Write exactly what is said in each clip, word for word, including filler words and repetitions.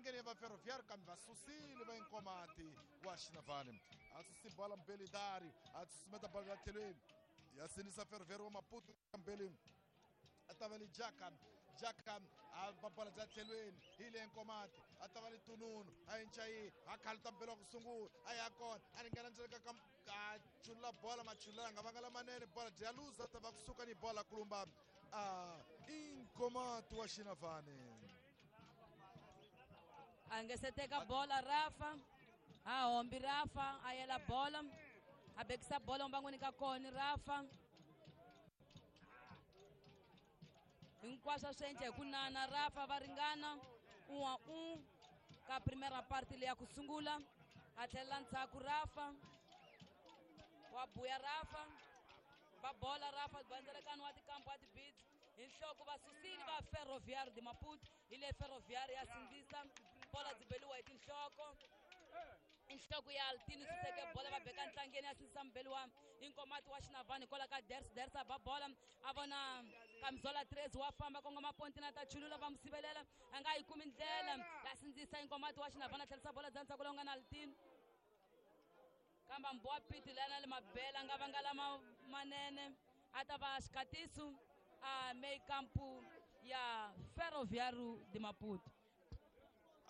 minengeni ya va Ferroviário kambe va susile va Inkomati wa Xinavane a susi bola mbeli Dário a susumeta bola ya tlhelweni ya sinisa Ferroviário wa Maputo mbeli a ta va li Jaka Jaka a ba bola bya tlhelweni hi le Nkomati a ta va li Tununu a Inchayi a khaluta mbelo wa ku sungula a ya kona a ringana ndzele ka a chulula bola machulula nga vanga lamanene bola dya luza ta va kusuka ni bola kulumba a Inkomati wa Xinavane a nge se teka bola Rafa a hombi Rafa a yela bola a bekisa bola mbangwini ka kona Rafa hinkwaswo swi endla hi ku nana Rafa va ringana un a un ka primera parte leyi ya ku sungula a tlhelela ndzhaku Rafa wa buya Rafa va bola Rafa bandzelekani wa tikambu wa tibits hi nhloko va susile va Ferroviário de Maputo hi le Ferroviário ya sindzisa bola byi beliwa hi tinhloko inhloko ya Altino suseke bola va beka ntlangeni ya sindzisa mbeli wa Inkomati wa Xinavane kwala ka Ders Ders a ba bola a vona Kamzola tres wa famba kongoma pontina ta chulula va mu sivelela a nga yi kumi ndlela ya sindzisa Inkomati wa Xinavane a tlherisa bola bya ndzhaku lowu nga na Altino kambe Mbowa Piti lana le mabela nga vanga lama manene a ta va xikatiso a meio campo ya Ferroviário de Maputo.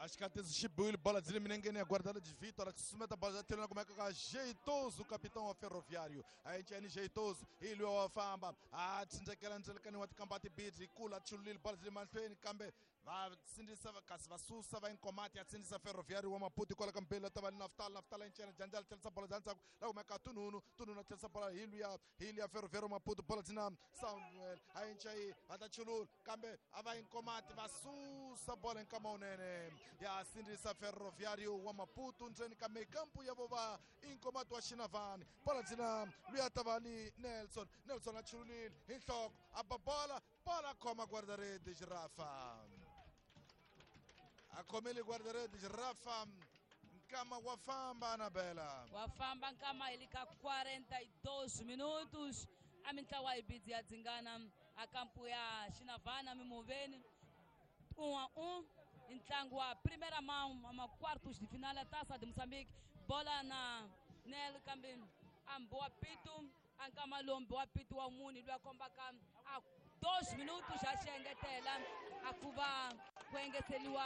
Acho que xi biwile bola byi le minengeni ya guardada de Vitor a susumeta bola ya tlhelweni kumeka ka Jeitoso capitão wa Ferroviário a enceni Jeitoso hi luya wa famba a tsindzekela ndzelekani wa tikamba tibidzi kula a chululile bola byi le mahlweni kambe va sindzisa kasi va susa va Inkomati ya sindzisa Ferroviário wa Maputo kwala ka mbeli ta va Naftal Naftal enceni Janjala tlherisa bola bya ndzhaku la kumeka Tununu Tununu a tlherisa bola hi luya hi luya Ferroviário wa Maputo bola byi na Samuel a encayi va ta chulula kambe a va Inkomati va susa bola nkama wunene ya sindzisa Ferroviário wa Maputo ndzeni ka mekampu ya vo va Inkomati wa Xinavane bola byi na luya ta va li Nelson Nelson a chululile hi nhloko a ba bola bola khoma guarda-redes Rafa a khomile guarda-redes Rafa nkama wa famba Anabela wa famba nkama hi le ka quarenta e dois minutos a mintlawa yi bidzi ya dzingana a kampu ya Xinavane mimoveni um a um ntlangu wa primeira mão ma quartos de final a Taça de Moçambique bola na Nel kambe a Mbowa Pito a nkama lowu Mbowa Pito wa muni loyi a kombaka a dois minutos xa xengetela a ku va ku engeteriwa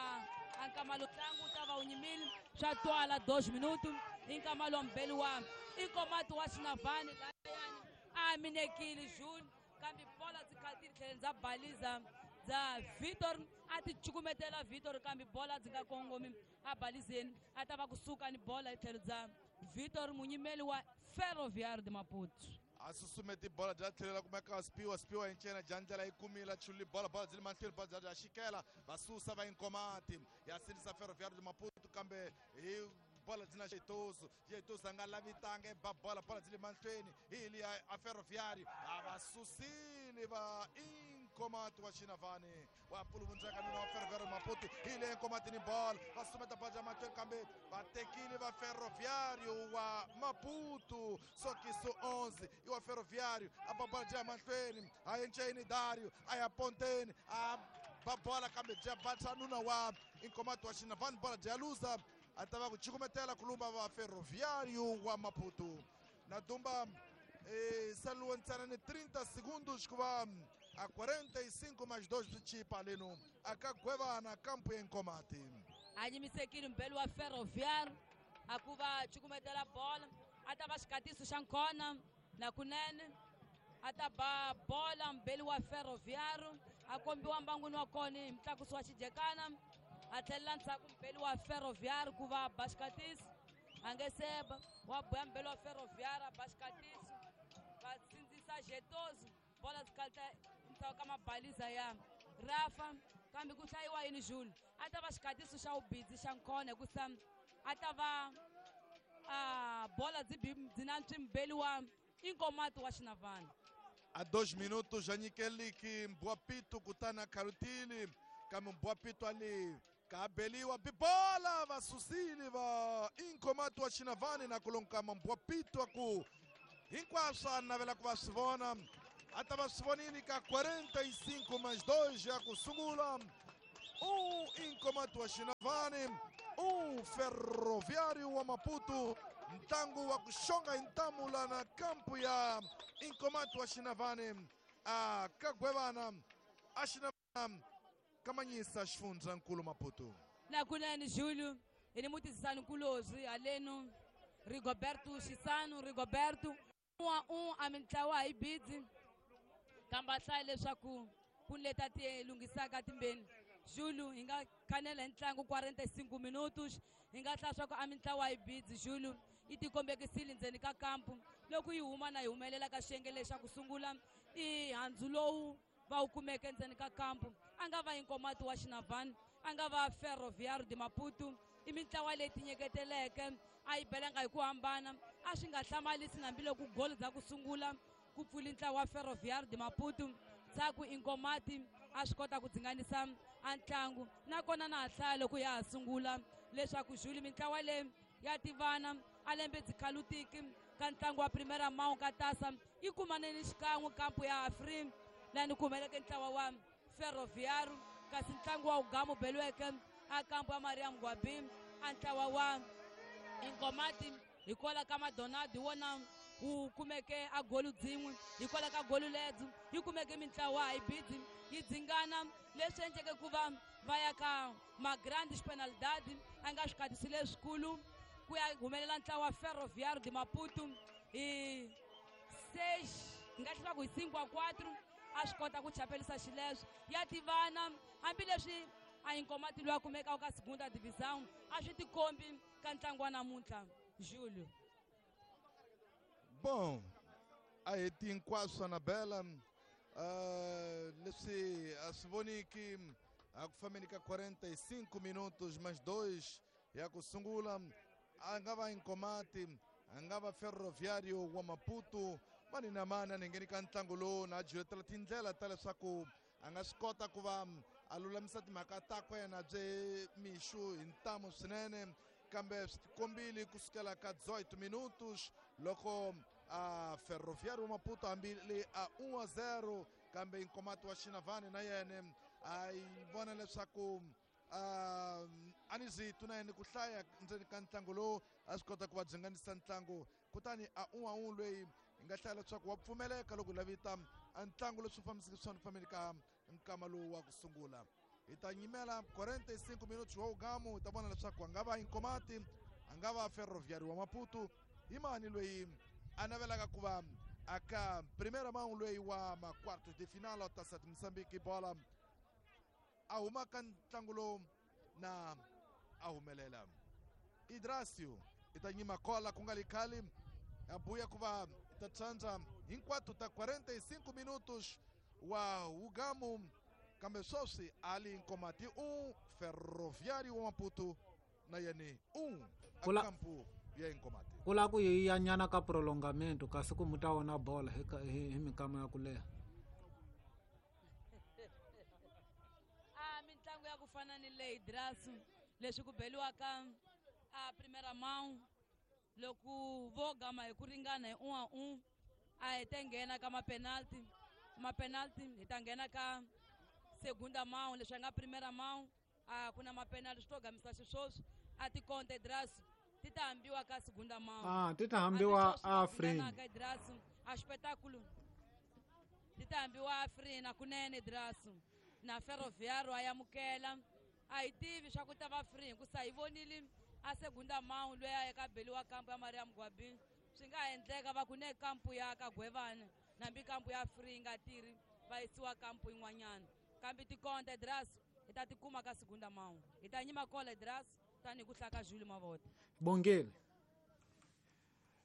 a nkama lowu ntlangu wu ta va wu nyimile swa twala dois minutos i nkama lowu mbeli wa Inkomati wa Xinavane layani a minekile June kambe bola byi khatile tlhelo bya baliza bya Vitor a ti cukumetela Vitor kambe bola byi nga kongomi a balizeni a ta va kusuka ni bola hi tlhelo bya Vitor munyimeli wa Ferroviário de Maputo a susumeti bola bya tlhelela kumeka Spiwa Spiwa encena Janjala yi kumile a chululi bola bola byi le mahlweni bola bya xikela va susa va Inkomati ya sindzisa Ferroviário de Maputo kambe hi bola byi na Jeitoso Jeitoso a nga lavi tanga e ba bola bola byi le mahlweni hi liya a Ferroviário a va susile va Inkomati wa Xinavane wa puluvundzeka nuna wa Ferroviário Maputo hi le Inkomati ni bola va susumeta bola bya mahlweni kambe va tekile va Ferroviário wa Maputo sokiso onze i wa Ferroviário a ba bola bya mahlweni a enceni Dário a ya ponteni a ba bola kambe bya batsa nuna wa Inkomati wa Xinavane bola bya luza a ta va ku cukumetela kulumba va Ferroviário wa Maputo na dumba eh, saluwa ntsena ni trinta segundos ku va a quarenta e cinco mais dois byi chipa leno a ka gwevana kampu ya Inkomati a nyimisekile mbeli wa Ferroviário a ku va cukumetela bola a ta va xikatiso xa nkona na kunene a ta ba bola mbeli wa Ferroviário a kombiwa mbangwini wa kona hi mutlakusi wa xijekana a tlhelela ndzhaku mbeli wa Ferroviário ku va ba xikatiso a nge seba wa boya mbeli wa Ferroviário a ba xikatiso va sindzisa Jetoso bola byi kalita ndzhaku ka mabaliza ya Rafa kambe ku hlayiwa yini Jules a ta va xikatiso xa vubidzi xa nkona hikusa a ta va a bola byi byi na mbeli wa Inkomati wa Xinavane a dois minutos já nyikeliki Mbowa Pito kutani a khalutile kambe Mbowa Pito ali ka beliwa bibola va susile va Inkomati wa Xinavane na kulonkama Mbowa Pito a ku hinkwaswo a navela ku va swi vona a ta va swi vonile ka quarenta e cinco mais dois ya ku sungula Um Inkomati wa Xinavane, um Ferroviário wa Maputo. Ntlangu wa ku xonga hi ntamu lana kampu ya Inkomati wa Xinavane a ka Gwevana a Xinavana kamanyisa xifundzankulu Maputo. Nakunene Júlio hi ni mutisisani nkulozi halenu Rigoberto Xisano Rigoberto um a um a mintlawa hi bidzi kambe a hlaya leswaku ku leta ti lunghisaka timbeni. Júlio hi nga khanela hi ntlangu quarenta e cinco minutos hi nga hlaya swa ku a mintlawa hi bidzi. Júlio yi tikombekisile ndzeni ka kampu loko yi huma na yi humelela ka xiyenge lexa ku sungula i handzu lowu va wu kumeke ndzeni ka kampu. A nga va Inkomati wa Xinavane, a nga va Ferroviário de Maputo, i mintlawa leyi tinyeketeleke a yi belanga hi ku hambana. A swi nga hlamarisi hambiloko goli dza ku sungula ku pfuli ntlawa wa Ferroviário de Maputo ndzhaku Inkomati a swi kota ku dzinganisa a ntlangu. Nakona na ha hlaya loko ya ha sungula leswaku Júlio mintlawa leyi ya tivana a lembe dzikhalutiki ka ntlangu wa Primeira Mão ka tasa yi kumaneni xikan'we kampu ya Afri lani ku humeleke ntlawa wa Ferroviário, kasi ntlangu wa Ugamu beliweke a kampu ya Maria Mgwabi a ntlawa wa Inkomati hikwalaho ka Madonald hi wona wu kumeke a golu dzin'we. Hikwalaho ka golu lebyi yi kumeke mintlawa hi bidzi yi dzingana leswi endleke ku va va ya ka ma-grandes penalidade a nga swikhatisi leswikulu ku ya humelela ntlawa wa Ferroviário de Maputo hi seis hi nga hlaya ku hi cinco a quatro a swi kota ku chapelisa xileswo. Ya tivana hambileswi a Inkomati loyi a kumekaka ka segunda divisão a swi tikombi ka ntlangu wa namuntlha Júlio. Bom, a heti hinkwaswo Anabela, uh, leswi a swi voniki a ku fambeni ka quarenta e cinco minutos mais dois ya ku sungula. A nga va Inkomati, a nga va Ferroviário wa Maputo, mani na mani a ni ngheni ka ntlangu lowu na juletela tindlela ta leswaku a nga swi kota ku va a lulamisa timhaka takwe yena bye mixu hi ntamu swinene, kambe swi tikombile kusukela ka dezoito minutos loko a Ferroviário wa Maputo hambi le a um a zero, kambe Inkomati wa Xinavane na yena a yi vona leswaku a ni zitu na yena ku hlaya ndzeni ka ntlangu lowu a swi kota ku va dzinganisa ntlangu. Kutani a um a um loyi hi nga hlaya leswaku wa pfumeleka loko lavita a ntlangu leswi fambiseke swona fambeni ka nkama lowu wa ku sungula. Hi ta nyimela quarenta e cinco minutos wa Ugamu, hi ta vona leswaku a nga va Inkomati, a nga va Ferroviário wa Maputo, hi mani loyi a navelaka ku va aka primeira mão loyi wa ma quartos de final wa Taça de Moçambique. Bola a huma ka ntlangu lowu na a humelela Idracio i ta nyima kola ku nga li khale a buya ku va ta tsandza hinkwato ta quarenta e cinco minutos wa Ugamu, kambe sweswi ali Inkomati um, Ferroviário wa Maputo na yena um a kampu ya Inkomati. Ku lava ku yi ya nyana ka prolongamento kasi ku mu ta wona bola hi hi minkama ya ku leha. A mintlangu ya ku fana ni leyi Drasu leswi ku beliwaka a Primeira Mão loko vo gama hi ku ringana hi um a um a hi ta nghena ka ma-penalty ma-penalty hi ta nghena ka segunda mão leswi nga Primeira Mão a ku na ma-penalty swi to gamisa xisweswi a tikonte Drasu ti ta hambiwa ka segunda mão. Ah, ti ta hambiwa Afrin Drasu a espetáculo ti ta hambiwa Afrin kunene Drasu na Ferroviário a yamukela a hi tivi swa ku ta va free hikusa hi vonile a segunda mão loyi a eka beliwa kampu ya Maria Mgwabi swi nga endleka va ku ne kampu ya ka Gwevana nambi kampu ya free yi nga tirhi va yisiwa kampu yin'wanyana kambe tikonte Drasu hi ta tikuma ka segunda mão. Hi ta nyima kola Drasu tanihi ku hlaka Júlio Mavota. Bongile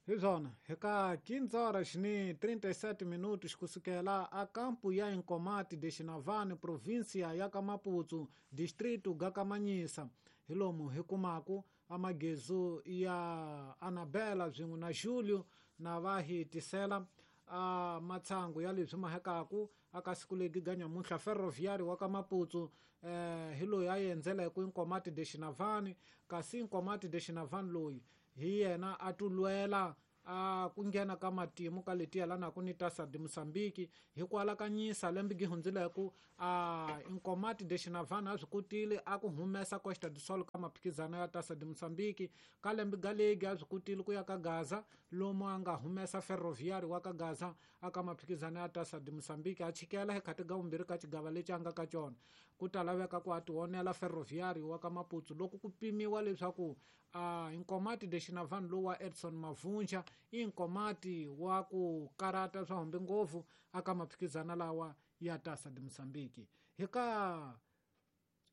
hi swona hi ka quinze horas ni trinta e sete minutos kusukela a kampu ya Inkomati de Xinavane província ya ka Maputo distrito ga Kamanyisa hi lomu hi kumaku amagezu ya Anabela swin'we na Júlio na va hi tisela a matsangu ya leswi mahekaku aka siku legi ga nyamuntlha Ferroviário wa ka Maputo eh hi loyi a endzela hi ku Inkomati de Xinavane kasi Inkomati de Xinavane loyi hi yena a tulwela a ku nghena ka matimu ka leti yelanaka ni Taça de Moçambique hi ku alakanyisa lembe gi hundzileke a Inkomati de Xinavane a swi kotile a ku humesa Costa do Sol ka maphikizano ya Taça de Moçambique ka lembe ga legi a swi kotile ku ya ka Gaza lomu a nga humesa Ferroviário wa ka Gaza a ka maphikizano ya Taça de Moçambique a chikela hi khati ga vumbirhi ka xigava lexi a nga ka xona ku ta laveka ku a tionela Ferroviário wa ka Maputo loko ku pimiwa leswaku a Inkomati de Xinavane lowu wa Edson Mavunja i Inkomati wa ku karata swa humbe ngopfu aka maphikizano lawa ya Taça de Moçambique hi ka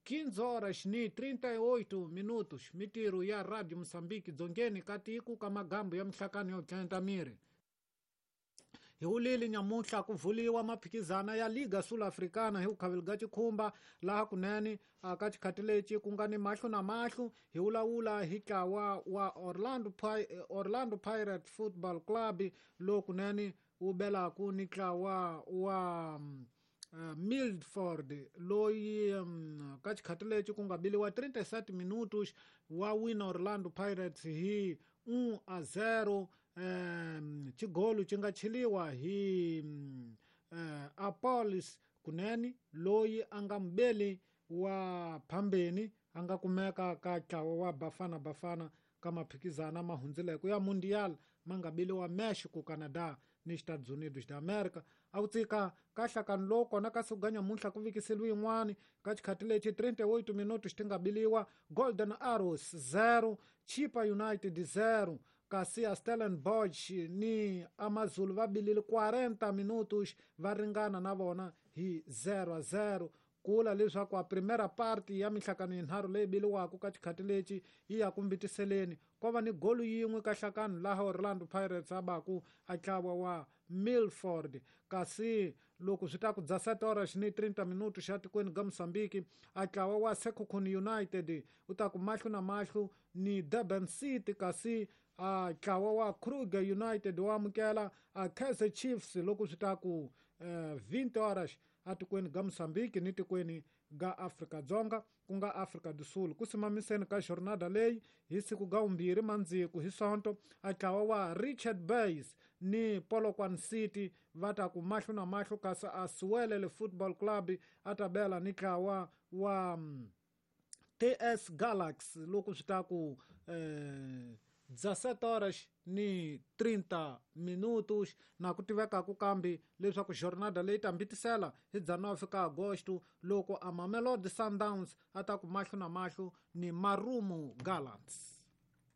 quinze horas ni trinta e oito minutos mitirho ya Radio Moçambique dzongeni ka tiko ka magambo ya mihlakano yo tlenta miri hi wulile nyamuntlha ku vuliwa maphikizana ya Liga Sul-Africana hi vukhaveli ga xikhumba laha kunene ka xikhati lexi ku nga ni mahlo na mahlo hi vulavula hi ntlawa wa Orlando Orlando Pirates Football Club lowu kunene wu belaku ni ntlawa wa Uh, Milford loyi um, ka xikhati lexi ku nga biliwa trinta e sete minutos wa wina Orlando Pirates hi um a zero um, xigolo xi nga cheliwa hi um, uh, Apolis kunene loyi a nga mubeli wa phambeni a nga kumeka ka ntlawa wa Bafana Bafana ka maphikizana ma hundzileke ya Mundial ma nga biliwa Mexico, Canada ni Estados Unidos da América a ku tsika ka hlakani lowu kona ka siku ga nyamuntlha ku vikiseliwe yin'wani ka xikhati lexi trinta e oito minutos ti nga biliwa Golden Arrows zero Chippa United zero kasi a Stellenbosch ni Amazulu va bilile quarenta minutos va ringana na vona hi zero a zero kula leswaku a primera parte ya mihlakano yinharhu leyi biliwaka ka xikhati lexi yi ya ku mbitiseleni ko va ni golu yin'we ka hlakano laha Orlando Pirates a baku a ntlawa wa Milford kasi loko swi ta ku dezessete horas ni trinta minutos xa tikweni ga Moçambique a ntlawa wa Sekhukhune United u ta ku mahlo na mahlo ni Durban City kasi a ntlawa wa Kruger United wa amukela a Kaizer Chiefs loko swi ta ku vinte horas atikweni ga Moçambique ni tikweni ga Afrika Dzonga ku nga Afrika do Sul ku simamiseni ka jornada leyi hi siku ga vumbirhi mandziku hi sonto a ntlawa wa Richard Bays ni Polokwane City va ta ku mahlo na mahlo kasi a Siwelele Football Club a ta bela ni ntlawa wa T S Galaxy loko swi ta ku eh, dezessete horas ni trinta minutos na ku tivekaku kambe leswaku jornada leyi ta mbitisela hi dezenove ka agosto loko a Mamelodi Sundowns a ta ku mahlo na mahlo ni Marumo Gallants.